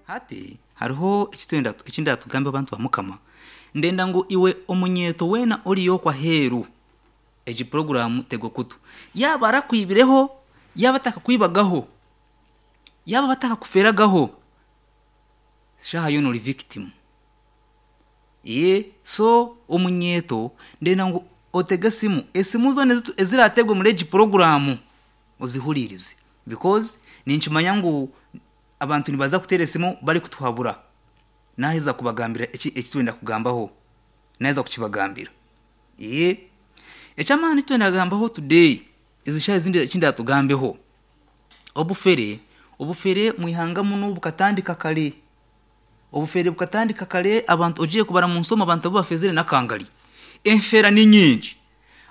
Hati hariho eki eki ndatugambe abantu ba Mukama. Ndenda ngu iwe omunyeeto weena oriyo okwo aheeru, egi puroguraamu tega okutu. Yaaba arakwibireho, yaaba atakakwibagaho, yaaba batakakuferagaho, shaaha yoona ori victim. Ee, so omunyeeto ndenda ngu otege esimu, esimu zoona eziraateerwe omuri egi puroguraamu ozihuriirize because ninkimanya ngu abantu nibaza kuteera esimu barikutuhabura. Naaheza kubagambira eki eki twenda kugambaho, naaheza kukibagambira. Ee, eky'amaani eki twenda kugambaho today, ezi shaaha ezindi eki ndaatugambeho, obufere, obufere omu ihanga munu bukatandika kare. Obufere bukatandika kare abantu ogiire kubara mu nsi omu abantu abu bafezire n'akangari. Enfera ni nyingi.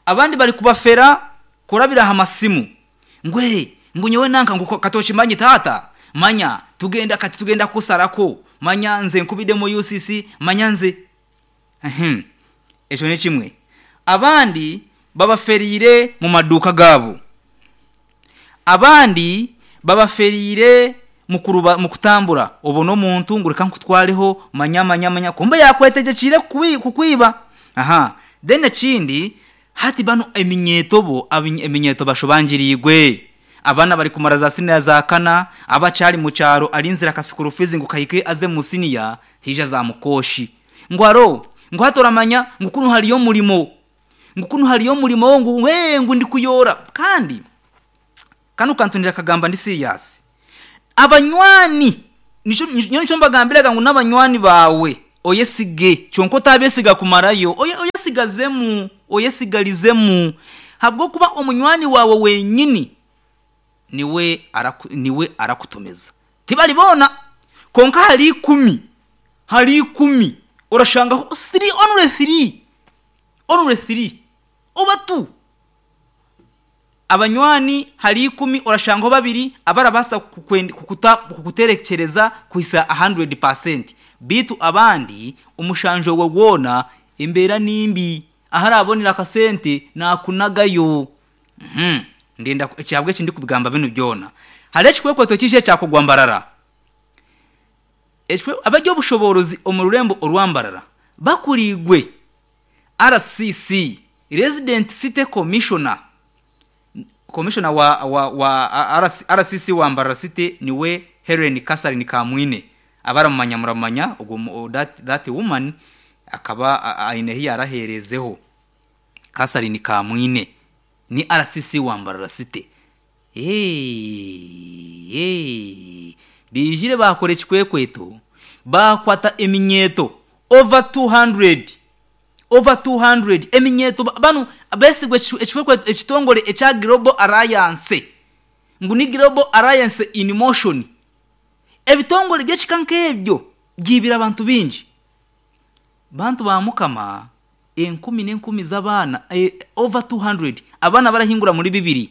Abandi barikubafera kurabira aha masimu ngu ee ngu nyowe nanka ngu kati okimanye taata manya tugenda kati tugenda kukusarako manya nze nkubidemu UCC manya nze ehem ekyo nikimwe. Abandi babaferiire mu maduuka gaabo. Abandi babaferiire mu kutambura, obone omuntu ngu reka nkutwareho manya manya manya kumbe yaakwetegyekyeire kukwiba. Aha Then ekindi hati banu eminyeeto bo eminyeeto bashobangiriirwe. Abaana barikumara za siniya za kana, abakyari mu kyaro arinzire aka school fees ngu kahike aze mu siniya, haija zaamukooshi. Ngu aro, ngu hati oramanya ngu kunu hariyo omurimo. Ngu kunu hariyo omurimo ngu ee ngu ndikuyoora. Kandi kanu kantu ndakagamba ndi serious. Abanywani nikyo nyowe nikyo mbagambiraga ngu n'abanywani baawe oyesige kyonka otabeesiga kumarayo, oyesigazemu, oyesigarizemu ahabw'okuba omunywani waawe wenyini niwe araku niwe arakutomeza. Tibari boona kwonka ahari ikumi, ahari ikumi orashangaho three, only three. Only three oba two. Abanywani hari ikumi orashangaho babiri abarabaasa kukuterekyereza kuhitsya a hundred percent beitu abandi omushanju ogwo gwona embeera ni mbi ahu arabonera akasente nakunagayo. Ndenda ahabw'eki ndikubigamba binu byona. Hariho ekikwekweto kiija ekyakorwa Mbarara. Abary'obushoboorozi omu rurembo orwa Mbarara bakuriirwe RCC, Resident City Commissioner, Commissioner wa wa wa RCC wa Mbarara City niwe Hellen Catherine Kamwine. Abaramumanya muramumanya ogwo that, that woman akaba aine ahi yaaraheerezeho. Catherine Kamwine ni RCC wa Mbarara City. Eeeeee baijire baakora ekikwekweto baakwata eminyeeto over 200, over 200 eminyeeto banu besigwa ekikwekweto ekitongore ekya Global Alliance ngu ni Global Alliance in Motion. Ebitongore by'ekika nk'ebyo byaibire abantu baingi. Bantu ba Mukama enkumi n'enkumi z'abaana, over 200, abaana barahingura muri bibiri,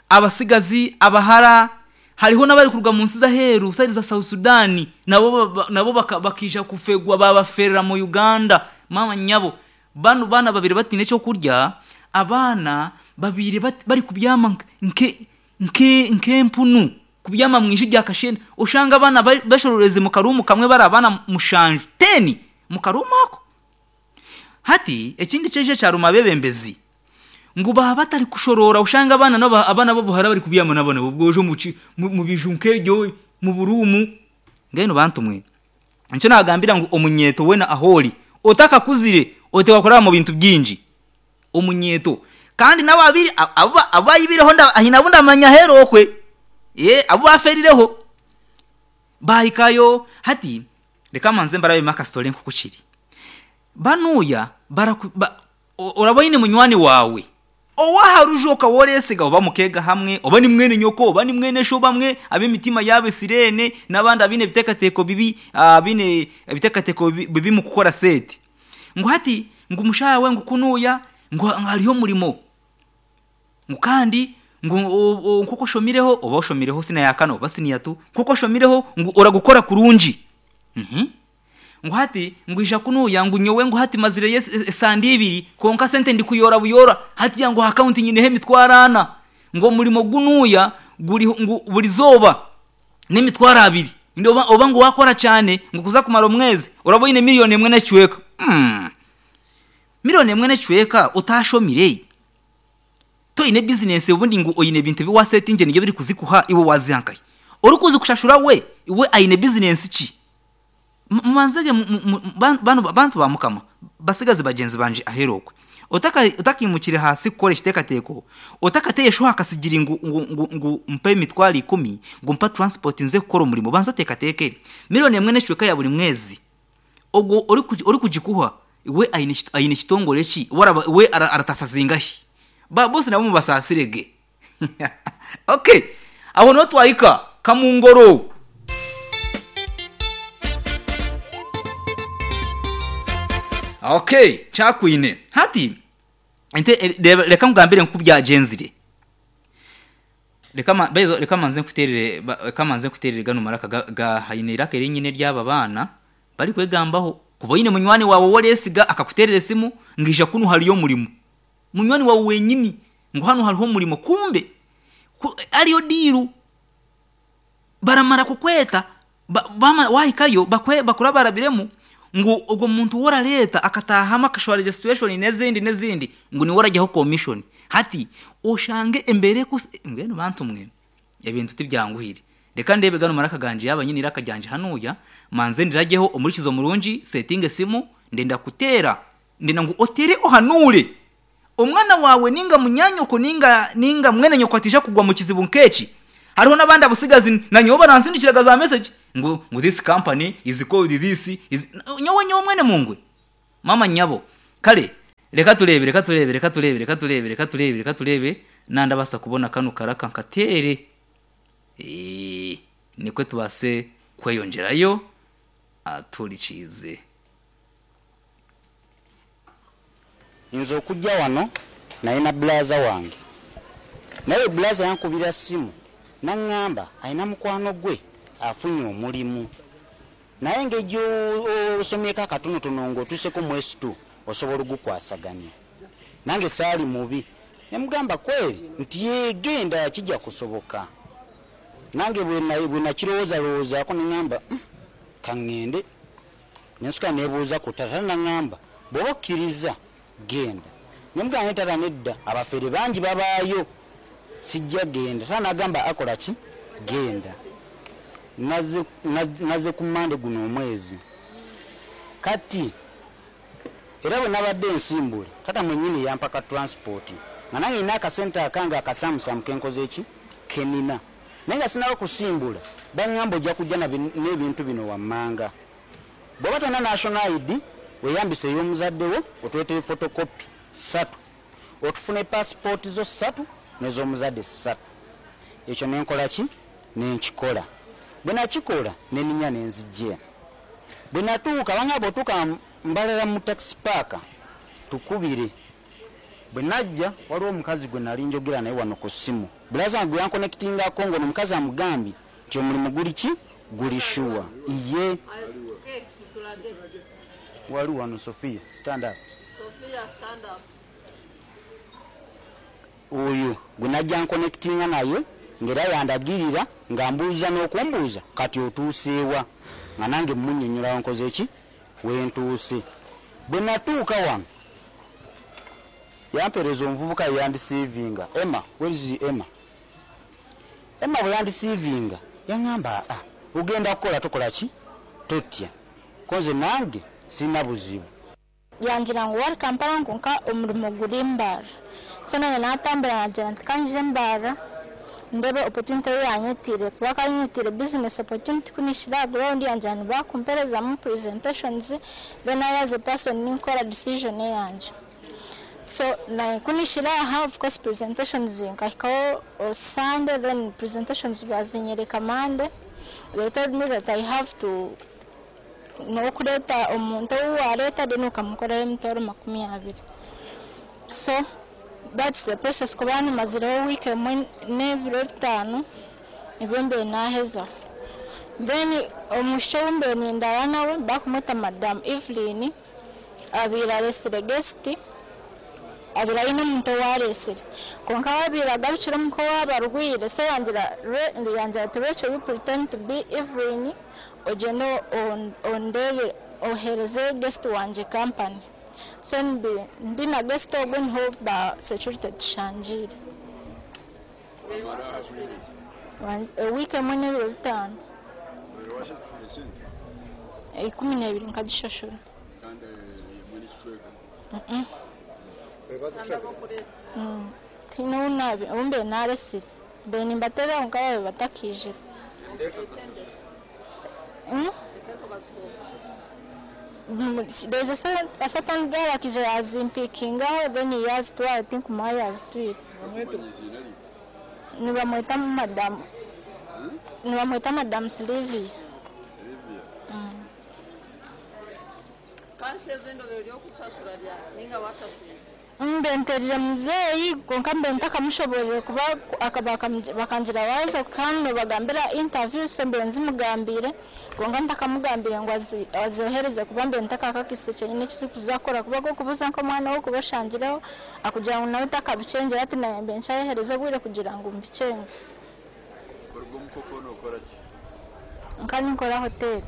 abatsigazi, abahara, hariho n'abarikuruga mu nsi z'aheeru sayidi za South Sudan nabo nabo bakaija kufegwa baabaferera mu Uganda. Maama nyabo, banu baana babaire bataine ekyokurya, abaana babaire barikubyama nk'empunu, kubyama omu iju rya kashenda, oshanga abaana beshorooreze omu karuumu kamwe bari abaana mushanju, ten, omu karuumu ako. Hati ekindi kyaija kyaruma abeebembezi ngu baaba batarikushoroora oshange abaana abaana b'obuhara barikubyama n'abaana b'obwojo omu biju nk'ebyo omu buruumu. Mbwenu bantu mwe, nikyo naagambira ngu omunyeeto weena ahu ori otakakuzire oteekwa kuraba omu bintu bingi. Omunyeeto kandi n'ababaire abu baibireho haine abu ndamanya aheeru okwe, abu baafeerireho baahikayo. Hati Reka mbanze mbarabemu akasitore nk'oku kiri. Banuuya baraku ba oraba oine munywani waawe ow'aha ruju okaba oreesiga oba mukeega hamwe oba ni mwene nyoko oba ni mwene sho bamwe ab'emitima yaabo esireene n'abandi abaine ebiteekateeko bibi abaine ebiteekateeko bibi mu kukora sente. Ngu hati ngu mushaaha we ngu kunuuya ngu hariyo omurimo. Ngu kandi ngu nk'oku oshomireho, oba oshomireho siniya ya kana oba siniya tu, nk'oku oshomireho ngu oragukora kurungi. Ngu hati ngu ija kunuuya ngu nyowe ngu hati mazireyo esande ibiri kwonka sente ndikuyoora buyoora, hatiya ngu aha akawunti nyineho emitwaro ana. Ngu omurimo gunuuya guri ngu burizooba n'emitwaro abiri. Ndi oba, oba ngu waakora kyane ngu kuza kumara omwezi oraba oine miriyoni emwe n'ekicweka. Mm. Miriyoni emwe n'ekicweka otaashomire? Toine bizinesi obundi ngu oine ebintu ebi waasetingire nibyo birikuzikuha iwe waaziha nkahi? Orikuzikushashura we, we aine bizinesi ki? Mubanze gye banu bantu ba Mukama, basigazi bagyenzi bangye aheeru okwe. Otaka otakaimukire ahansi kukora ekiteekateeko, otakateire shuha aha kasigiri ngu ngu ngu ngu mpa emitwaro ikumi, ngu mpa transport nze kukora omurimo, banza oteekateeke. Miriyoni emwe n'ekicweka ya buri mwezi, ogwo orikugikuha we aine aine kitongore ki? We araba we arataasa zingahi? Ba bosi nabo mubasaasire ge. Okay, aho niho twahika Kamungoro. Okay, kyakwine. Hati ente reka nkugambire nku byagyenzire. Reka ma baize reka manze nkuteerere reka manze nkuteerere ganu maraka ga ga haine eiraka eri nyine ery'aba baana barikwegambaho. Kuba oine munywani waawe ou oreesiga akakuteerera esimu ngu ija kunu hariyo omurimo. Munywani waawe wenyini ngu hanu hariho omurimo kumbe ku ariyo diiru. Baramara kukweta ba wahikayo bakwe bakurabarabiremu ngu ogwo muntu ou orareeta akataahamu akashwara egyo situation n'ezindi n'ezindi ngu niwe oragyaho commission. Hati oshange embeera ekusi mbwenu bantu mwe ebintu tibyanguhire. Reka ndeebe ganu maraka gangye yaaba nyine eiraka ryangye hanuuya manze ndiragyeho omuhurikiza omurungi setinga esimu ndenda kuteera Ndenda ngu otere ohanuure omwana waawe ninga munyaanyoko ninga ninga mwene nyoko ataija kugwa mu kizibu nk'eki. Hariho n'abandi abutsigazi na nyowe baransindikiraga za message ngu ngu this company is called this is nyowe nyowe mwene mungwe maama nyabo. Kare reka tureebe reka tureebe reka tureebe reka tureebe reka tureebe reka tureebe nandabaasa kubona kanu karaka nkateere eeh nikwe tubaase kweyongyerayo atuhurikiize. Nze okujja wano nalina bbulaaza wange naye oyo bbulaaza yankubira ssimu n'ang'amba alina mukwano gwe afunye omulimu naye engeri gy'osomyeko akatonotono ng'otuuseeko mu S two osobola ogukwasaganya. Nange saali mubi ne mugamba kweri nti yee genda kijja kusoboka. Nange bwe nakirowoozalowoozaako ne ng'amba ka ng'ende. Ne nsooka neebuuza ku taata, taata n'angamba, Bw'oba okkirizza, genda. Ne mugamba naye taata nedda, abafere bangi babaayo, sijja genda. Taata n'agamba, Akola ki? Genda. Nazze, nazze ku Mmande guno omwezi. Kati, era bwe nabadde nsimbula, taata mwennyini yampa ka transport, nga nange nina akasente akange akasaamusaamu ke nkoze ki? Ke nina. Naye nga sinnaba kusimbula, bangamba ojja kujja n'ebintu bino wammanga. Bw'oba tolina National ID, weeyambise ey'omuzadde wo otuleetere photocopy ssatu, otufune passport zo ssatu n'ez'omuzadde ssatu. Ekyo ne nkola ki? Ne nkikola. Bwe nakikola ne nninnya ne nzija eno. Bwe natuuka, bangamba bw'otuuka Mbarara mu taxi park tukubire. Bwe najja waliwo omukazi gwe nali njogera naye wano ku ssimu, bbulaaza wange gwe yankonekitingako ng'ono omukazi amugambye nti omulimu guli ki? Guli shuwa. Iye. Wali wano Sophia, stand up. Oyo gwe najja nkonekitinga naye ng'era yandagirira ng'ambuuza n'okumbuuza kati otuuse wa? Nga nange mmunnyonnyola wenkoze ki? Wentuuse. Bwe natuuka wano yampeereza omuvubuka eyandisiivinga, Emma, where is Emma? Emma bwe yandisiivinga yangamba aa ogenda kukola tokola ki? Totya. Ko nze nange sirina buzibu. Yangira ngu wari Kampala kwonka omurimo guri Mbarara. So nanye natambura nagira nti kanyije Mbarara ndebe opportunity eyi yanyetiire kuba akaba anyetiire business opportunity ku nishira aha ground yangira nibakumperezamu presentations then I as a person ninkora decision eyangye. So nanye ku nishira aha of course presentations nkahikaho Sunday then presentations bazinyereka Monday they told me that I have to N'okureeta omuntu ou waareeta then okamukoraho emitwaro 20. So that's the process kuba nimazireho wiiki emwe n'ebiro bitaano nibyo mbaire naahezaho. Then omwishiki ou mbaire nindaara nawe barikumweta Madam Evelyn abaire areetsire guest. Abaire aine omuntu ou areetsire. Kwonka we abaire agarukire omuka owaabo arwaire, so yangira yangira ati Rachel you pretend to be Evelyn ogyende ondeebere oheereze guest wangye company. So ndi na guest ogwo niho ba security tushangiire. Wiiki emwe n'ebiro bitaano. 12 nkagishashura. Tihaine ou naabi ou mbaire naaresire. Mbaire nimbateerera kwonka baabaire batakaijire. There is a certain girl akaija yaazimpikingaho then yaazitwara tinkumanya ahu yaazitwire. Nibamweta madam nibamweta madam Sylvia. Mbe nterire muzeeyi kwonka mbe ntakamushoborire kuba bakangira waaza kandi nobagambira interview so mbe nzimugambiire kwonka ntakamugambiire ngu azohereze kuba mbe ntakakakise kyenyini ekizikuza kukora kuba akokubuuza nk'omwana we okuba oshangireho akugira ngu nawe takabikyengire hati naanye mbe nkyayehereza obwire kugira ngu mbikyenge. Nka ninkora hoteeri.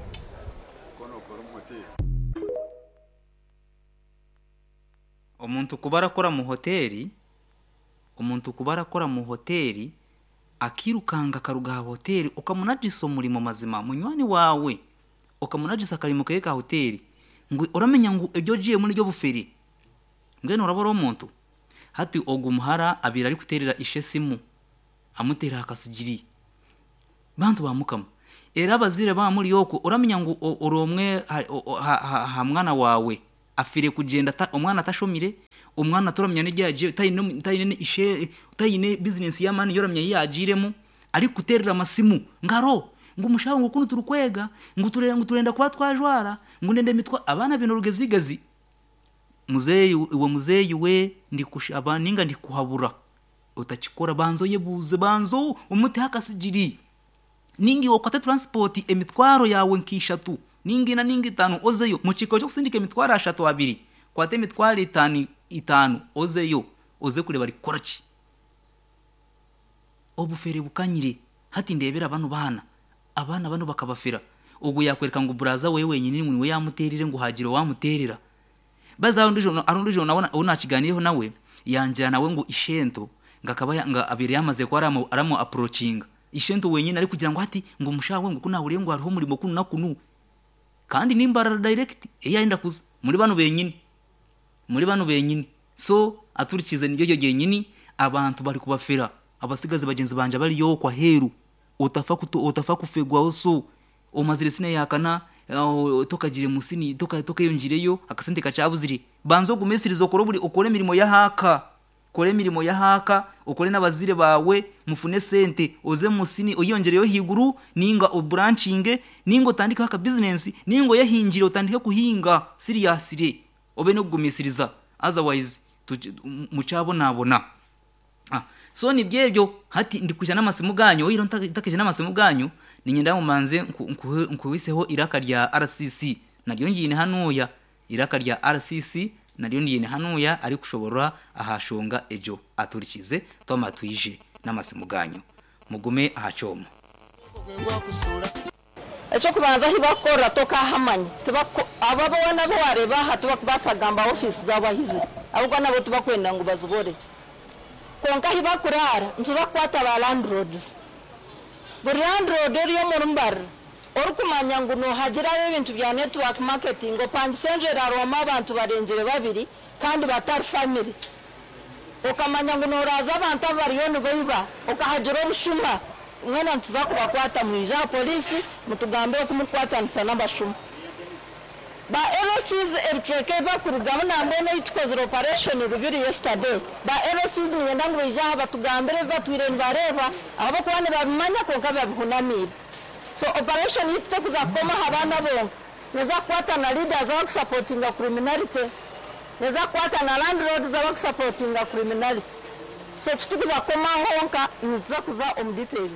Omuntu kuba arakora mu hoteeri, omuntu kuba arakora mu hoteeri akairukanga akaruga aha hoteeri okamunagisa omurimo mazima munywani waawe okamunagisa akarimo keye ka hoteeri ngu oramenya ngu ebi ogiiremu n'eby'obufere mbwenu oraba ori omuntu? Hati ogu muhara abaire arikuteerera ishe esimu amuteera aha kasigiri. Bantu ba Mukama, era abazaire baaba muri okwo, oramanya ngu ori omwe aha mwana waawe afiire kugyenda omwana atashomire, omwana toramanya n'ebi yagiire, taine ishe, taine bizinesi y'amaani ei oramanya ei yaagiiremu, arikukuteerera amasimu ngu haro, ngu mushaho ngu kunu turikwega, ngu turenda kuba twajwara, ngu ndenda emitwaro, abaana baine orugezigezi. Muzeeyi iwe muzeeyi we ndikushaba ninga ndikuhabura otakikora banza oyebuuze banza omuteho akasigiri ninga iwe okwate transport emitwaro yaawe nka ishatu ninga ina ninga itaano ozeyo mukiikaro ky'okusindika emitwaro ashatu abiri kwata emitwaro itaano itaano ozeyo oze kureeba arikukora ki. Obufere bukanyire hati ndeebera banu baana abaana banu bakabafera ogwo yaakworeka ngu buraza we wenyini ngu niwe yaamuteerire ngu haagira owaamuteerera. Baza hariho ondiijo nawe ou naakigaaniireho nawe, yangira nawe ngu ishento ngu akaba ngu abaire yaamazire kuba aramu approachinga. Ishento wenyini arikugira ngu hati ngu omushaho we ngu ku naahuriire ngu hariho omurimo kunu na kunu. Kandi ni Mbarara direct ei arenda kuza, muri banu benyini. Muri banu benyini. So aturikiize niryo eryo ryenyini abantu barikubafera. Abatsigazi bagyenzi bangye abari okwo aheeru, otafa otafa kufegwaho so omazire siniya ya kana tokagire mu siniya tokeyongyireyo akasente kakyabuzire banza ogumisirize okore oburi okore emirimo y'ahaaka kora emirimo y'ahaaka okore n'abazaire baawe mufune esente oze mu siniya oyeyongyereyo ahaiguru ninga oburankinge ninga otandikeho aka bizinesi ninga oyehingire otandike kuhinga siriyasire obe n'okugumisiriza otherwise mukyabonabona. So nibyo ebyo hati ndikwija n'amasimu ganyu oihireho ntakaija n'amasimu ganyu niinyenda ngu mbanze nkuhiseho eiraka rya RCC naryo ngiine hanuuya eiraka rya RCC naryo ndiine hanuuya arikushoborora aha shonga egyo aturikiize twamara twije n'amasimu ganyu mugume aha kyoma. Eky'okubanza ahu bakukorera tokahamanya. Tibaku abo boona abu waareeba aha tibakubaasa kugamba ofiisi zaabo ahu ziri ahabw'okuba nabo tibakwenda ngu baziborekye. Kwonka ahu bakuraara nituza kukwata ba landlords. Buri landlord ori omuri Mbarara orikumanya ngu noohagirayo ebintu bya network marketing opangise enju eraarwamu abantu barengire babiri kandi batari famire, Okamanya ngu noraaza abantu abu bariyo nibaiba, okahagira obushuma, mwena nituza kubakwata mwije aha poliisi mutugambire oku murikukwatanisa n'abashuma. Ba LCs ebicweka ebi bakurugamu nambwenu ei tukozire operation Rubiri yesterday, ba LCs niinyenda ngu baije aha batugambire ebi batwire nibareeba ahabw'okuba nibabimanya kwonka babihunamiire. So operation yaitu tekuza kukoma aha baana bonka, neeza kukwata na leaders abakusapotinga criminality. Neza kukwata na landlords abakusapotinga criminality so titukuza kukoma aho honka nituza kuza omu details.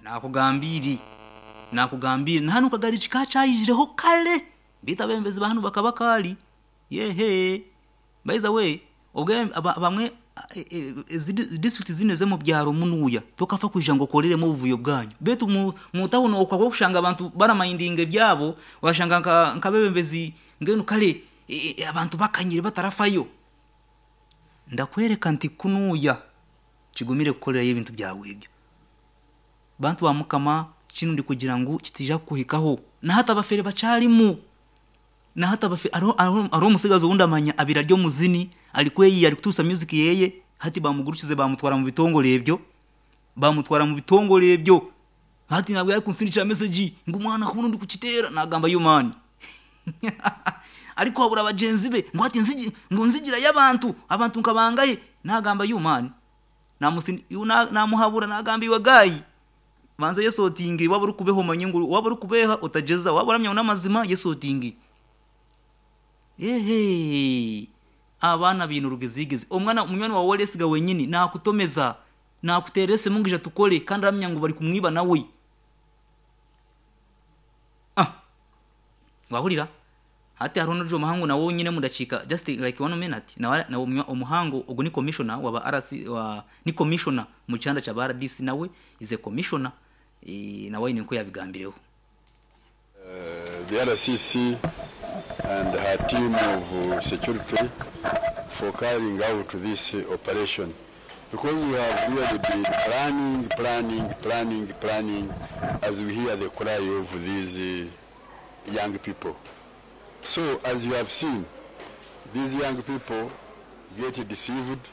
Naakugambiire, naakugambiire, na hanu kagari kikaakyaijireho kare. Beitu abebembezi ba hanu bakaba kaari yehe by the way obwe bamwe ezi disiturikiti zinu ez'omu byaro munuuya tokafa kwija ngu okoreremu obuvuyo bwanyu beitu mu tawuni okwo ahabw'okushanga abantu baramayindinga ebyabo washanga nk'abebembezi mbwenu kare abantu bakanyire batarafayo. Ndakwereka nti kunuuya kigumire kukorerayo ebintu byawe ebyo. Bantu ba Mukama kinu ndikugira ngu kitiija kukuhikaho. Na hati abafere bakyarimu. Na hati abafere hariho hariho omutsigazi ou ndamanya abaire ari omuzini arikweyiiya arikutuusa music yeye hati bamugurukize bamutwara mu bitongore ebyo bamutwara mu bitongore ebyo hati nabwo arikunsindikira message ngu mwana kunu ndikukiteera nagamba yo man arikuhabura bagyenzi be ngu hati nzigi ngu nzigirayo abantu abantu nka bangahe nagamba you man Namuhabura nagamba iwe guy banza oyesotinge waaba orikubeha omanye ngu waaba orikubeha otagyeza waaba oramanya ngu n'amazima yesotinge. Eehee abaana baine orugezigezi omwana munywani waawe ou oresiga wenyini nakutomeza nakuteerera esimu ngu ija tukore kandi aramanya ngu barikumwiba nawe. Ah! Wahurira? Hati hariho n'orijo omuhango nawe ou nyine omu dakiika just like one minute nawe nawe omuhango ogu ni commissioner wa ba RC wa ni commissioner omu kyanda kya ba RDC nawe is a commissioner eh, nawe aine nku yabigambireho. The RCC and her team of security for carrying out this operation because we have really been planning, planning, planning, planning as we hear the cry of these young people. So as you have seen, these young people get deceived,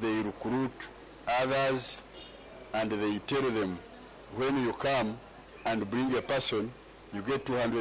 they recruit others and they tell them when you come and bring a person, you get 200